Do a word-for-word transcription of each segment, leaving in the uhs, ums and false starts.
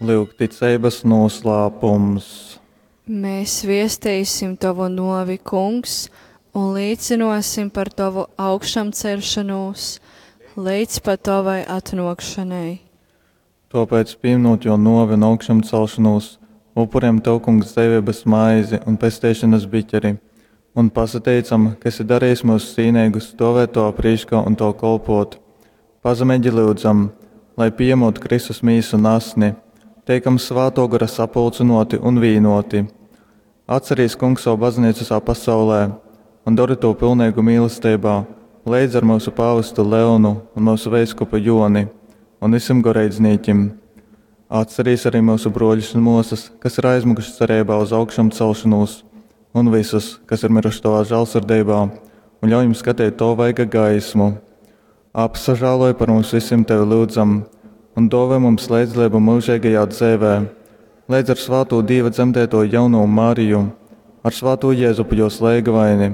Lyugticeibas nūslāpums. Mēs viestīsim Tavu nuovi, Kungs, un līcynuosim par Tovu augšamceļšonūs leidz pat Tovai atnuokšonai. Tōpēc, pīmynūt Jō nōvi un augšamcelšonūs, upurejam Tev, Kungs, dzeiveibas maizi un pesteišonas biķeri un pasateicam, ka esi darejis myus cīneigus stōvēt Tovā prīškā un Tev kolpōt. Pazemeigi lyudzam, lai, pījamūt Kristus Mīsu un Asni, teikam Svātō Gora sapulcynōti un vīnōti. Atcerīs, Kungs, sovu Bazneicu vysā pasaulē un dori tū pilneigu mīlesteibā leidz ar myusu pāvestu Leonu un myusu veiskupu Jōni un vysim goreidznīkim. Atcerīs arī myusu brōļus un mōsas, kas ir aizmyguši cereibā uz augšamcelšonūs, un vysus, kas ir myruši Tovā žālsirdeibā, un ļauj jim skateit Tova vaiga gaismu. Apsažāloj par mums vysim Tevi lyudzam, un dōvoj mums leidzdaleibu myužeigajā dzeivē, leidz ar svātū Dīva dzemdētoju jaunovu Mariju, ar svātū Jezupu jōs leigavaini,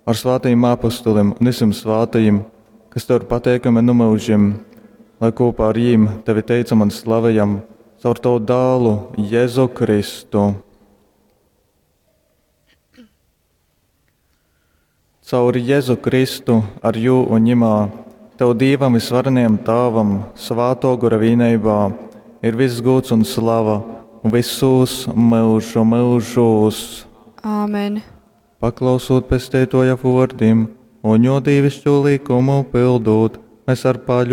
ar svātajim apostolim un vysim svātajim, kas Tev ir pateikami nu myužim, lai kopā ar jīm Tevi teicam un slavejam caur Tavu dālu Jēzu Kristu. Caur Jēzu Kristu, ar jū un ņimā, Tev Dīvam vysvarenajam Tāvam, Svātō Gora vīneibā, ir viss gūds un slava vysūs myužu myužūs. Āmen. Paklausūt Pesteitōja vōrdim un jō dīviškū lykumu pyldūt, mēs ar paļu